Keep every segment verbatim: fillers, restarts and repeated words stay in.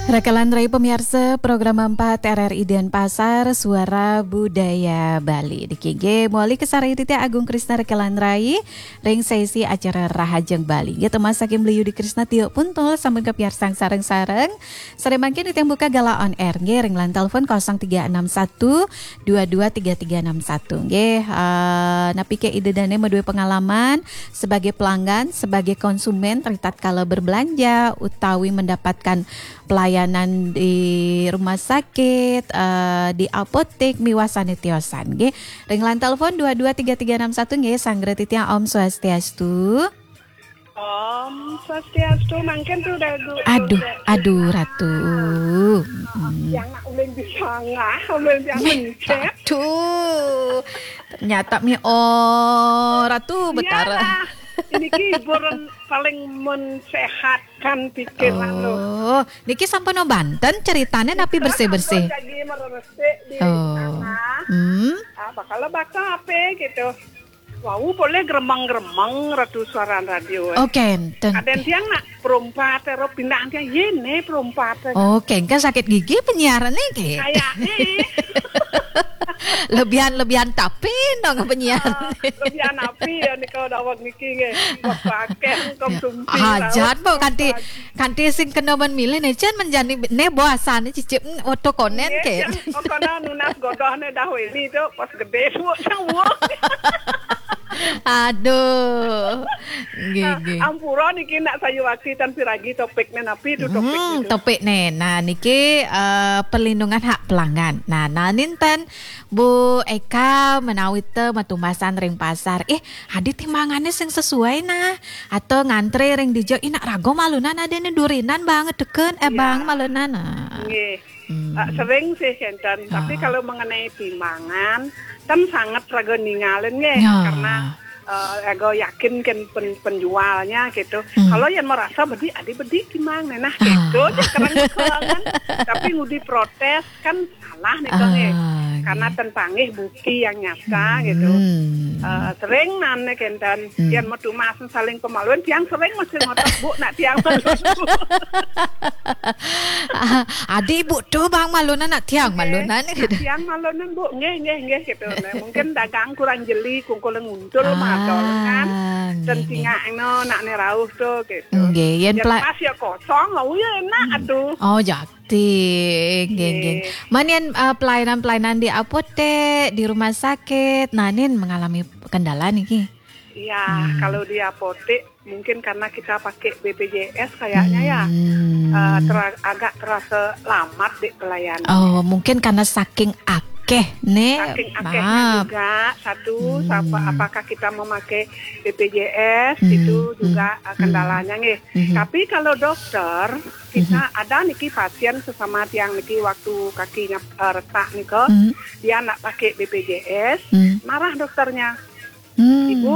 Rekan rai pamiarsa program empat R R I Denpasar, Suara Budaya Bali. Niki nggih, mawali kasarengin titiang Agung Krisna rekan rai ring sesi acara Rahajeng Bali. Nggih, tumas saking Beli Yudi Krisna Tio Puntul, sampun kapiarsang sareng-sareng. Sare mangkin titiang buka galah on air nggih ring line telepon kosong tiga enam satu dua dua tiga tiga enam satu. Nggih, eh, napi ké ida dané madué pengalaman sebagai pelanggan, sebagai konsumen, ritatkala berbelanja utawi mendapatkan pelayanan di rumah sakit, eh, di apotek, miwah sané tiosan, nggih. Ring line telepon dua dua tiga tiga enam satu, nggih, sanggra titiang Om Swastiastu. Om Swastiastu, mangkin tu dah du-, Aduh, du-, aduh, Ratu. Mm. Yang nak ulin disangah, ulin yang mencet. Aduh, ternyata mi, oh, Ratu Betara. Iyalah, ini hiburan paling mensehatkan pikiran loh. Oh, niki sampun banten ceritane napi bersih-bersih? Sampun jagi meresik di Oh. sana. Hmm. Ah, bakal bakal apa gitu. Wau boleh gremeng-gremeng Ratu Suaran Radio, eh. Oh, kenten. Kadén tiang nak perompat, ero pindah tiang, yé né perompat, eh. Oh, kengken sakit gigi penyiar niki. Kayaknya. Lebihan-lebihan tapi dong penyiar. Ah, lebihan api ya nika daweg niki nggih. Bapak akeh konsumsi. Hajat, Bu, kanti, kanti sing kena men milih né, cen menjani né boasan cicip, mm, oto konen Nggih, ke. Cen, oh, kono nunas godoh né dah weli tu, pas gedé suuk cang wong. Aduh. Nggih, Nah, nggih. Ampura niki nak sayuwakti tan piragi topikné napi tu topik Hmm, niku? Topikné. Nah, niki, eh, perlindungan hak pelanggan. Nah, nah, ninten Bu Eka menawi té matumbasan ring pasar. Eh, adi timbangané sing sesuai nah. Atau ngantré ring dija, ih, nak raga malunan adané durinan bang teken, eh, Ya. Bang malunan. Nah. Nggih. Hmm. Eh, sering sih kenten, tapi Ah. kalau mengenai timbangan, kan sangat raga ningalin nggih, Ya. karena, eh, raga yakin kan pen-, penjualnya gitu. Hmm. Kalau yang merasa bedi, adi bedi timbang, nah, Ah. gitu, cek kereng kekelangan. Tapi ngudi protes kan salah nih, Kang, nggih. Ah, Karena nggih. ten panggih bukti yang nyata Hmm. gitu. Eh, sering nane kenten, Hmm. yang metu mas saling pemaluan, tiang sering masih ngotot, Bu, nak tiang malu. Ah, adi ibu tu bang malunan nak tiang Nggih, malunan nak gitu. tiang malunan, Bu. Nggih, nggih, nggih, gitu. Nah, mungkin dagang kurang jeli, kungkul nguntul Ah, madol kan. Dan nggih, nggih. Tingak eno, nak ne rauh tu, gitu. Nggih, yen Yen pla- pas ya kosong, oh ya enak, aduh. Oh, jakti. Nggih, nggih. Nggih. Man yen, eh, pelayanan-pelayanan di apotek, di rumah sakit, nah, nin mengalami kendala niki. Iya, Hmm. kalau di apotek mungkin karena kita pakai B P J S kayaknya ya. Hmm. Eh, tera-, agak terasa lambat di pelayanan. Oh, mungkin karena saking akeh, nih. Saking akehnya Maaf. juga, satu, Hmm. siapa, apakah kita memakai B P J S, Hmm. itu juga, Hmm. eh, kendalanya, nggih. Hmm. Tapi kalau dokter, kita Hmm. ada niki pasien sesama tiang niki waktu kakinya, eh, retak nika, Hmm. dia nak pakai B P J S, Hmm. marah dokternya. Hmm. Ibu,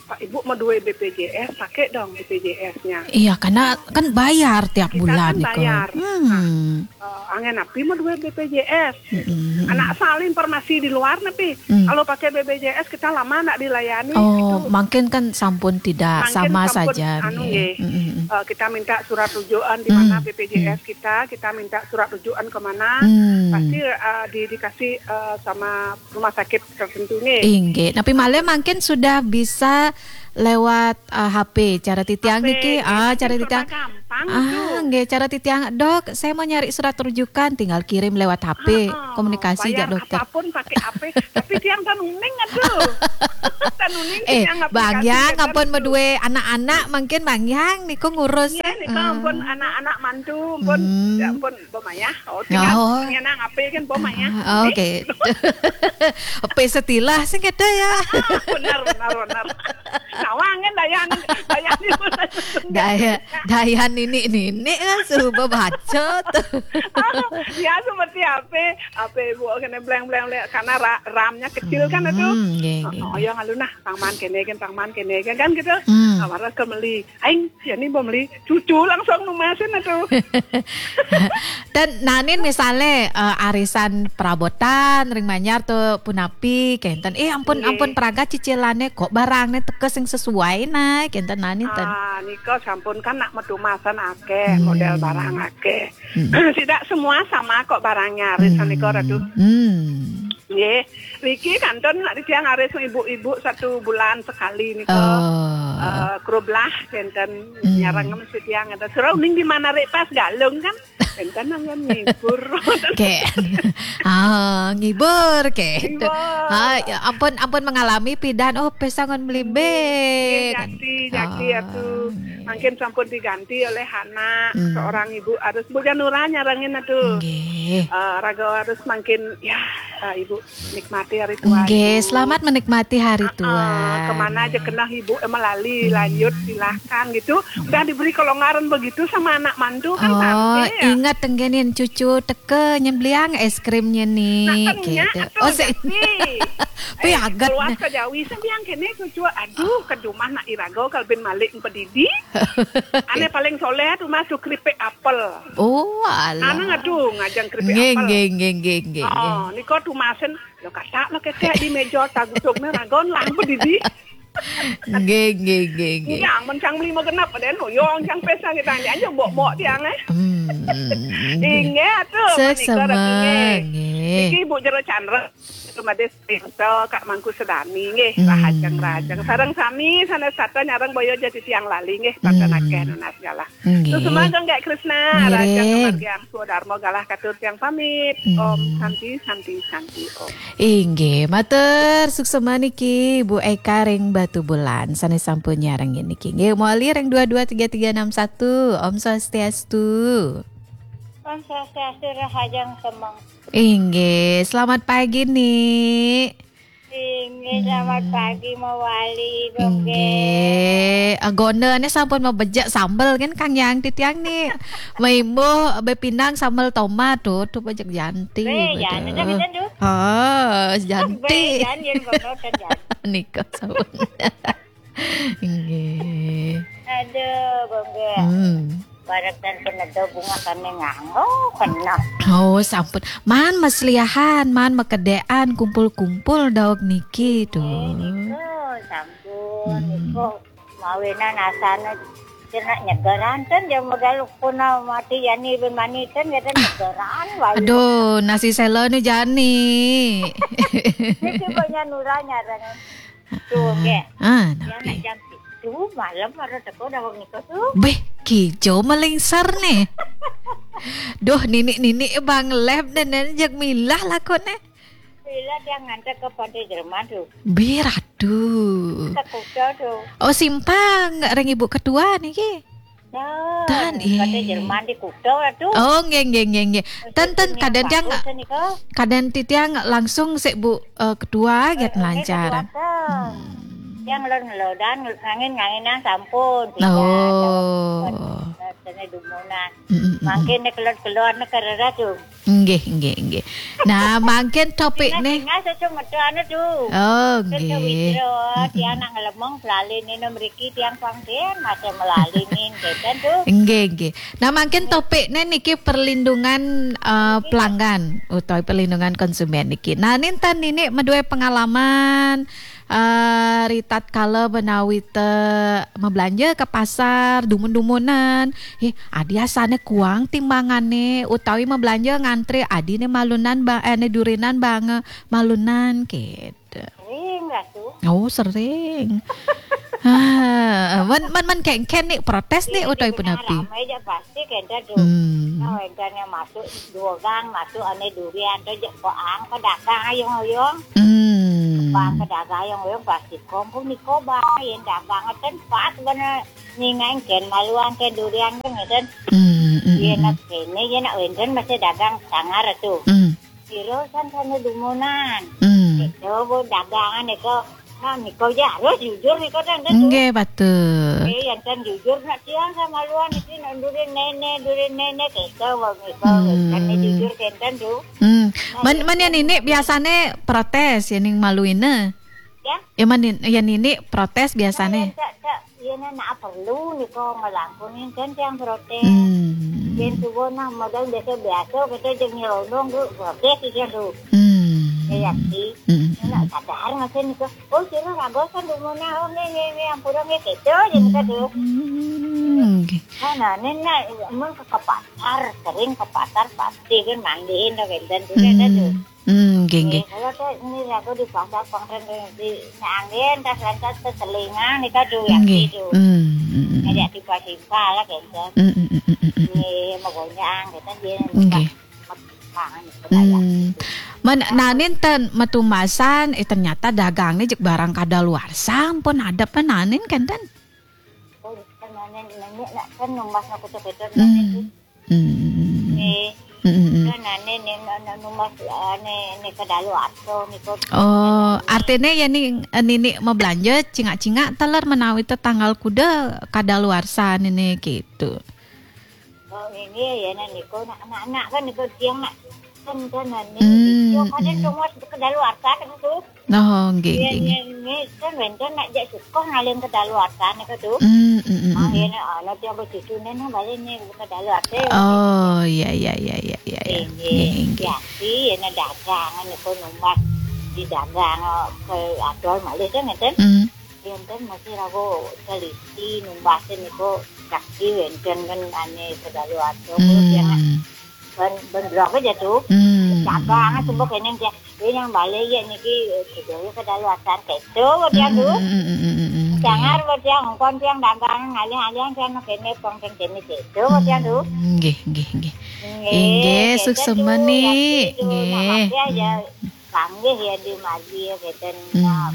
Pak, Ibu mau dua B P J S, pakai dong B P J S-nya. Iya, karena kan bayar tiap Kita bulan kan nika. bayar. Hmm. Nah, eh, angen api mau dua B P J S. Mm-mm. Anak asal informasi di luar napi. Hmm. Kalau pakai B P J S kita lama nak dilayani Oh, gitu. Mungkin kan sampun tidak Mungkin sama sampun saja anu nih. Nggih. Mm-mm. Eh, kita minta surat rujukan di mana Hmm. B P J S Hmm. kita, kita minta surat rujukan ke mana. Hmm. Pasti, eh, di-, dikasih, eh, sama rumah sakit tertentu nggih. Inggih. Tapi malih mangkin sudah bisa lewat, eh, H P. Cara titiang H P, niki, nggih, ah, mungkin cara titiang. Serba gampang Ah, tu. Nggih, cara titiang, "Dok, saya mau nyari surat rujukan," tinggal kirim lewat H P, Ah, ah, komunikasi jak bayar dokter. Apapun pakai H P, tapi tiang tan uning aduh. Tan uning Eh, tiang Bang aplikasi Yang, kan ampun tu. Medue anak-anak, mungkin Bang Yang niku ngurus. Iya, nika Ah. ampun anak-anak mantu, ampun, Hmm. ya ampun, Bo Mayah. Oh, tinggal Oh. ngenang ape kan, Bo Mayah. Ah, oke. Ape setilah sing ada ya. Ah, benar, benar, benar. Nawang kan daya ni, daya ni. Daya, daya ninik-ninik kan suba baca tu. Ah, ya seperti ape, ape ibu kena blank, blank, blank. Karena ra-, RAM-nya kecil kan itu. Hmm, nggih, nggih, Oh, nggih. Yang alun nah, pangman kene kan, pangman kene kan, kan gitu. Hmm. Ah, marah ke meli. Aing, ya ni Bo meli. Cucu langsung numasin itu. Dan nanin misalnya, eh, arisan perabotan, ring manyar tu punapi, kenten. Eh, ampun, Nggih. Ampun pragat cicilannya, kok barangnya teka sing sesuai nah, kenten nanin ten. Ah, nika sampun kan nak metumasan akeh, Hmm. model barang akeh. Tidak semua sama kok barangnya, Risa nika, Ratu. Hmm. Nggih. Niki kantun nak titiang aris ibu-ibu satu bulan sekali nika. Oh. Eh, krublah kenten nyarang mesti tiang ada. Sira uning di mana rek pas galung kan? Kenten nang ngibur. Ke. Ah, ngibur ke. Ngibur. Ah, ya ampun, ampun mengalami pidan. Oh, pesta ngon melibik. Nggih, jaki, jaki, Atu. Mungkin sampun diganti oleh anak seorang ibu harus Bu Janura nyarengin, Atu. Nggih. Eh, raga harus mungkin ya, eh, ibu nikmati hari tua. Nggih, ibu. Selamat menikmati hari tua. Ah, kemana aja kena ibu emang lali, lanjut, silahkan gitu. Udah diberi kelonggaran begitu sama anak mantu kan. Oh, santai ya. Ingat tenggenin cucu teke nyembliang es krimnya nih. Nah, gitu. Oh, si. Tapi eh, agak keluar ke Jawi sembiang kene cucu. Aduh, ke rumah nak irago kalau ben malik pedidi. Ane paling soleh tuh masuk keripik apel. Oh, alah. Anak aduh ngajang keripik apel. Nggih, nggih, nggih, nggih. Oh, niko tuh masen. Lo kata lo kete di meja tagusuk nih ragon lah pedidi. Nggih, nggih, nggih, nggih. Yang mencang lima genap pada no, yang cang pesa kita aja bok-bok tiang eh. Hmm. Inggih atuh, menika. Sesama, nggih. Niki Ibu Jero Chandra, Rumades Pinto, Kak Mangku Sedani nggih, rahajeng-rahajeng. Sareng sami sanes sata nyareng boyo jadi tiang lali nggih, pada nakeh nunas galah. Nggih. Terus semangat nggak Krisna, rahajeng kemargiang Swadarma galah katur tiang pamit. Om Santi, Santi, Santi, Om. Inggih, matur suksema niki Bu Eka ring Batubulan sané sampun nyarengin niki. Nggih, mawali ring dua dua tiga tiga enam satu. Om Swastiastu. Om Swastiastu, rahajeng semeng. Inggih, selamat pagi, Nik. Inggih, selamat pagi, mawali, Bongge. Inggih, agonane sampun mabejek sambel kan Kang Yang titiang nih. Maimbuh bepinang sambel tomat tuh, tuh bejek janti. Be, betul. Jangan, jangan, jangan, tuh. Oh, janti. Be, jangan, jangan, jangan, jangan. Nika sampun. Inggih. Aduh, Bongge. Hmm. Barek dan peneda bunga kami nganggo kena. Oh, sampun. Man masliahan, man makedékan kumpul-kumpul daug niki tuh. Niko, sampun. Hmm. Niko mawinan asana cenah nyegeran ten jam modal puna mati yani ben mani ten ya ten nyegeran wae. Aduh, nasi sela nih jani. Niki banyak nuranya dan tuh ke. Ah, yang napi? Jam pitu malam ada teko daug niko tuh. Beh, kijo melingsar nih. Duh, nini-nini Bang Leb dan dan jak milah lakone. Bila dia ngantar ke Pantai Jerman tuh. Biratu. Ke Kuta tuh. Oh, simpang ring Ibu Ketua niki. Nah, dan Pantai Jerman di Kuta tuh. Oh, nggih, nggih, nggih, nggih. Ten, ten, kadang tiang, kadang titiang langsung sik Bu, eh, Ketua get lancar. Yang lo ngelodan ngangin nganginan sampun. Oh. Sene dumunan. Mm, mm, mm. Mangkin nek kelon-kelon nek kerera tuh. Nggih, nggih, nggih. Nah, mangkin topik nih. Ingat-ingat sesuatu anu tuh. Oh, nggih. Tiang nak ngelemong selalu ini mriki tiang panggen masa melalinin keten tuh. Nggih, nggih. Nah, mangkin topiknya niki perlindungan, eh, pelanggan utawi perlindungan konsumen niki. Nah, ninten nini madué pengalaman, eh, ritatkala menawi té mablanja ka pasar, dumun-dumunan. Eh, adi asane kuang timbangane utawi mablanja ngantri adine malunan ba-, eh, ne durinan bange malunan gitu. Sering lah tuh. Oh, sering. Ah, man, man, man kengken nih protes nih utawi punapi? Ramai aja pasti kenten tuh. Hmm. Nah, wénten yang masuk dua gang, masuk ane durian tuh je koang pedagang ayung-ayung. Hmm. Koang pedagang ayung-ayung pasti kompung niko bang, yen dagang ten pas bener nyingain ken maluan ken durian kan ngeten. Hmm, hmm, hmm. Yen nak kene yen nak wénten masih dagang sangar tuh. Hmm. Piro san sane dumunan. Hmm. Itu bu dagangan itu. Nah, niko ya harus jujur niko kan, kan. Nggih, betul. Eh, yang kan jujur nak tiang sama luan iki nak durin nenek, durin nenek itu wong niko. Hmm. Kan jujur kenten tuh. Hmm. Nah, man, ya, man yang kan ini biasanya protes ya ning maluine. Ya? Ya man, yang ini protes biasanya. Nah, ya, tak, tak. Yen nak perlu niko ngelangkunin kan tiang protes. Hmm. Yen subuh nah modal biasa-biasa kita jeung nyelonong tuh protes iki tuh. Hmm. Ya sih. Hmm. Nak sadar ngasih niko. Oh, sira ragosan dumuna. Oh, nggih, nggih, nggih, ampura nggih, gitu, yen kita tuh. Hmm. Nggih. Nah, nah, ini nak emang ke, ke pasar, sering ke pasar pasti kan mandiin dah benten tuh kan tuh. Hmm. Hmm, nggih, nggih. Eh, kalau tuh ini aku di pasar kemarin di nyangin tas lantas seselingan nih kan tuh ya Nggih. Gitu. Hmm, hmm, hmm. Kayak tiba-tiba lah benten. Hmm, hmm, hmm, hmm, hmm, hmm. Ini mau goyang gitu dia. Nggih. Makan gitu. Hmm. Men nanin ten metumasan eh ternyata dagangne jek barang kadaluarsa ampun adep nanin kenten. Oh, kan nanya nanya nak kan numbas nak kutu-kutu Hmm. Hmm. Nih, Hmm, hmm, hmm. Kan ane ne ne numbas ane ne kedalu atau nih kok. Oh, artinya ya nih nini mau belanja cingak-cingak teler menawi te tanggal kuda kadaluarsa nini gitu. Oh, ini ya nah niko nak anak-anak kan niko tiang nak kan kan ane. Hmm, Yo kan hmm. Numbas kedaluarsa kan tuh. Oh, nggih, Iya, nggih, nggih. Ini kan benten nak jak suka ngalih kedaluarsa nih tuh. Hmm, hmm, hmm, hmm. Ini ana tiang begitu nih nah balik nih kedaluarsa. Oh, iya, iya, iya, iya, iya, iya. Ini Nggih, nggih. ya sih ini dagang niko numbas di dagang ke atol malih kan ngeten. Hmm. Enten masih ragu teliti numbas niko saksi wenten kan ane kedaluarsa. Kalau tiang nak Hmm. ben ben blok aja tuh. Hmm. Dagang semua kene dia. Ini yang balik ya niki kedalu kedaluarsa keto dia tuh. Hmm, hmm, hmm, hmm, hmm, hmm. Jangan buat yang kon yang dagang ngalih-alih yang kene pong kene keto dia tuh. Hmm, nggih, nggih, nggih. Nggih, Inggih, gitu suksema tuh, nih. ya gitu. Nah, Nggih. makanya ya panggih ya di mari ya gitu. Hmm.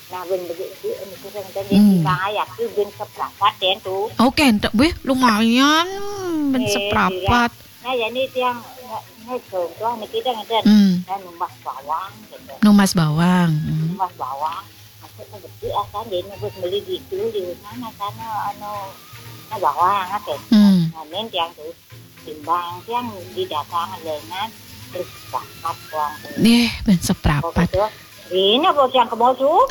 Nah, ben begitu ini kurang kan Hmm. Timbang ayak tuh ben seprapat ya tuh. Oke, entek wih lumayan ben Eh, seprapat. Nah, jadi tiang nge contoh nih kita ngeten. Hmm. Dan numbas bawang gitu. Numbas bawang. Hmm. Numbas bawang. Maksudnya gede akan dia nubus beli gitu di mana sana anu nah bawang apa. Hmm. Namin tiang tuh timbang tiang di dagang dengan terus banget uang tuh. Nih, ben seprapat. Pokoknya ini bocah yang kemau tuh.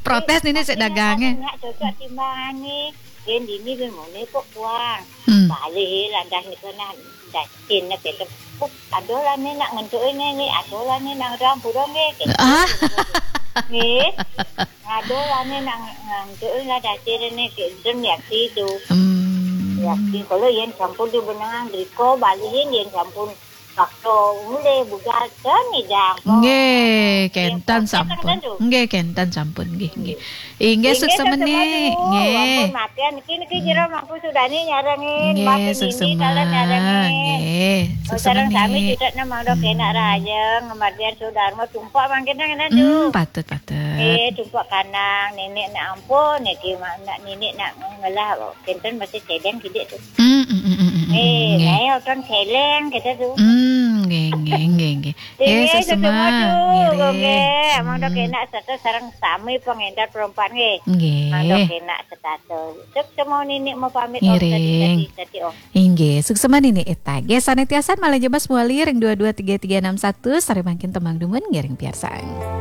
Protes ini sik dagangnya. Nak cocok timbangan nih. Yen dini ben mone kok kuang. Hmm. Balik lantas nih kena dacin nih gitu. Ada lah nih nak ngentuk ini nih, ada lah nih nak orang burung nih. Gitu. Ah, Nih. Ada lah nih nak ngentuk lah dacin ini gitu. Dan ya itu. hmm. Ya sih kalau yen sampun di benang driko balikin yen sampun waktu mulai buka kan nih jam. Nggih, kenten sampun. Nggih, kenten sampun nggih, nggih. Inggih, suksema nih. Nggih. Ampun matian niki niki jero mangku sudani nyarengin. Nggih, Mati nini suksema. Dalan nyarengin. Nggih, Oh, sareng sami suksema. Tidak nama dok enak raja ngemardian sudarma tumpak mangkin ngene Hmm, tuh. Patut, patut. Eh, tumpak kanang nenek nak ampun niki mak nak nenek nak ngelah kenten masih cedeng kidik tuh. Hmm, hmm, hmm, hmm, hmm, Eh, nggih. Saya kan celeng kita tuh. Hmm, nggih, nggih, nggih, nggih. Eh, Nggih, suksema. suksema tuh, Nggih. Nggih. Mangda Hmm. Kenak serta sareng sami pengendar perempuan nggih. Nggih. Mangda Kenak serta suksema nini mau pamit Ngiring. Tadi tadi oh. Inggih, suksema nini Ita. Nggih, sanetiasan malih jebas muali ring dua dua tiga tiga enam satu, sare mangkin tembang dumun ngiring piarsang.